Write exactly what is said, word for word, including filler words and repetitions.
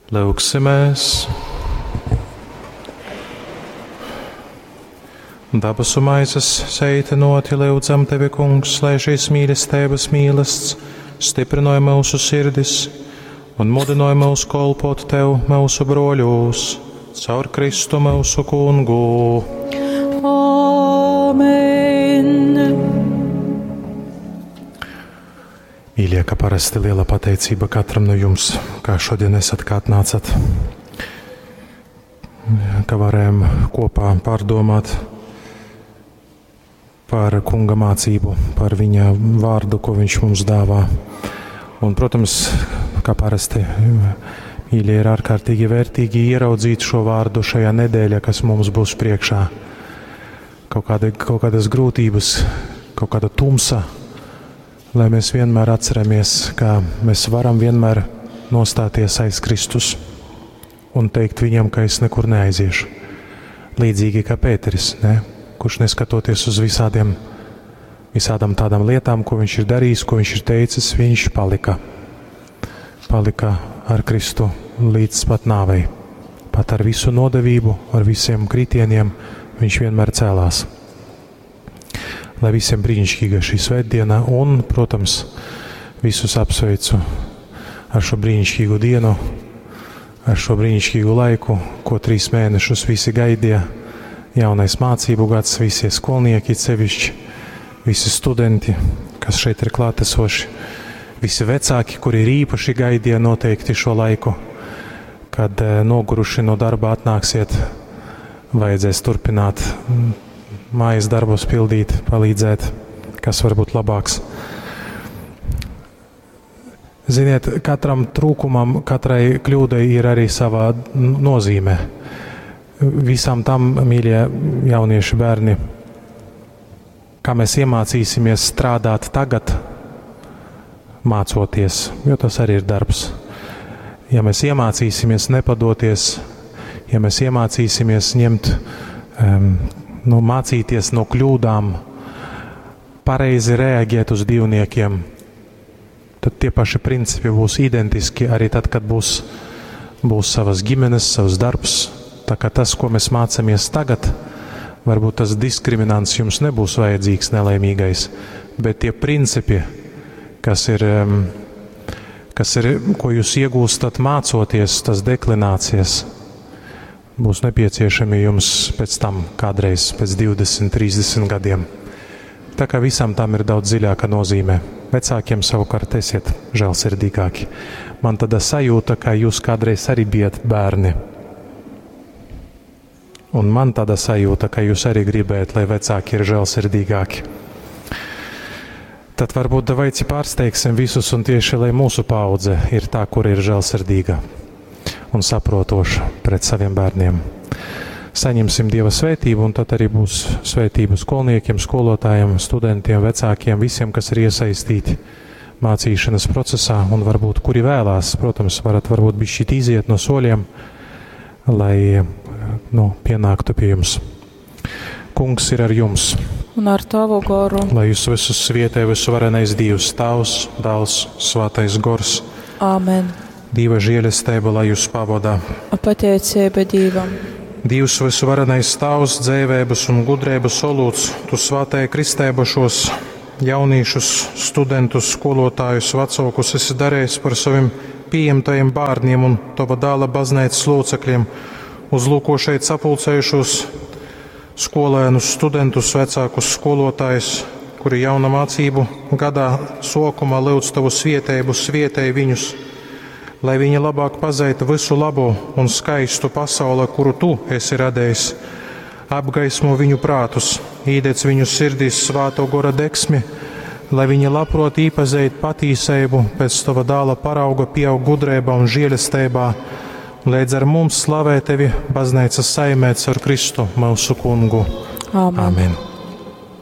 Lūgsimies! Dabasu maizes seitinoti lyudzam tevi, Kungs, lai šīs mīlestības mīlasts stiprināja mūsu sirdis un mudināja mūs kolpot tev, mūsu broļūs, caur Kristu mūsu kungu. Āmen! Mīļie, kā parasti liela pateicība katram no jums, kā šodien esat, kā atnācat, ka varējām kopā pārdomāt par kunga mācību, par viņa vārdu, ko viņš mums dāvā. Un, protams, kā parasti, mīļie, ir ārkārtīgi vērtīgi ieraudzīt šo vārdu šajā nedēļā, kas mums būs priekšā. Kaut, kāda, kaut kādas grūtības, kaut kāda tumsa, lai mēs vienmēr atceramies, ka mēs varam vienmēr nostāties aiz Kristus un teikt viņam, ka es nekur neaiziešu. Līdzīgi kā Pēteris, ne? Kurš neskatoties uz visādiem, visādām tādām lietām, ko viņš ir darījis, ko viņš ir teicis, viņš palika. Palika ar Kristu līdz pat nāvei. Pat ar visu nodevību, ar visiem kritieniem, viņš vienmēr cēlās. Lai visiem brīnišķīga šī svētdiena un, protams, visus apsveicu ar šo brīnišķīgu dienu, ar šo brīnišķīgu laiku, ko trīs mēnešus visi gaidīja. Jaunais mācību gads, visi skolnieki sevišķi, visi studenti, kas šeit ir klātesoši, visi vecāki, kuri ir īpaši gaidīja noteikti šo laiku, kad noguruši no darba atnāksiet, vajadzēs turpināt mājas darbus pildīt, palīdzēt, kas var būt labāks. Ziniet, katram trūkumam, katrai kļūdai ir arī savā nozīme. Visam tam, mīļie jaunieši bērni, kā mēs iemācīsimies strādāt tagad, mācoties, jo tas arī ir darbs. Ja mēs iemācīsimies nepadoties, ja mēs iemācīsimies ņemt, um, nu, mācīties no kļūdām, pareizi reaģēt uz divniekiem, tad tie paši principi būs identiski arī tad, kad būs, būs savas ģimenes, savs darbs. Tā kā tas, ko mēs mācāmies tagad, varbūt tas diskriminants jums nebūs vajadzīgs nelaimīgais, bet tie principi, kas ir, kas ir, ko jūs iegūstat mācoties, tas deklinācijas, būs nepieciešami jums pēc tam kādreiz, pēc divdesmit, trīsdesmit gadiem. Tā kā visam tam ir daudz dziļāka nozīme. Vecākiem savukārt esiet žēlsirdīgāki. Man tāda sajūta, ka jūs kādreiz arī bijat bērni. Un man tāda sajūta, ka jūs arī gribējat, lai vecāki ir žēlsirdīgāki. Tad varbūt davaici pārsteigsim visus un tieši, lai mūsu paudze ir tā, kur ir žēlsirdīga un saprotoša pret saviem bērniem. Saņemsim Dieva svētību, un tad arī būs svētība skolniekiem, skolotājiem, studentiem, vecākiem, visiem, kas ir iesaistīti mācīšanas procesā un varbūt kuri vēlās, protams, varat varbūt bišķīt iziet no soļiem, lai, nu, pienāktu pie jums. Kungs ir ar jums. Un ar tavu goru. Lai jūs visus svietē visuvarenais Dievs, Tēvs, Dēls, Svētais Gors. Āmen. Dieva žēlastība, lai jūs pavadā. Pateicība Dievam. Dievs visuvarenais Tēvs, dzēvēbas un gudrības olūts, tu svētēji kristēba šos jauniešus, studentus, skolotājus, vecākus esi darījis par saviem pieņemtajiem bērniem un tava dēla baznīcas locekļiem. Uzlūko šeit sapulcējušos skolēnus, studentus, vecākus, skolotājus, kuri jauna mācību gadā sokumā lūdz tavu svietēbu, svietēj viņus, lai viņi labāk pazeitu visu labo un skaistu pasauli, kuru tu esi radījis. Apgaismo viņu prātus, īdec viņu sirdīs svāto gora deksmi, lai viņi labprot īpazeit patīsību, pēc tava dāla parauga pieaug gudrībā un žēlastībā, līdz ar mums slavē tevi baznīcas saimē caur Kristu mūsu kungu. Āmen. Āmen.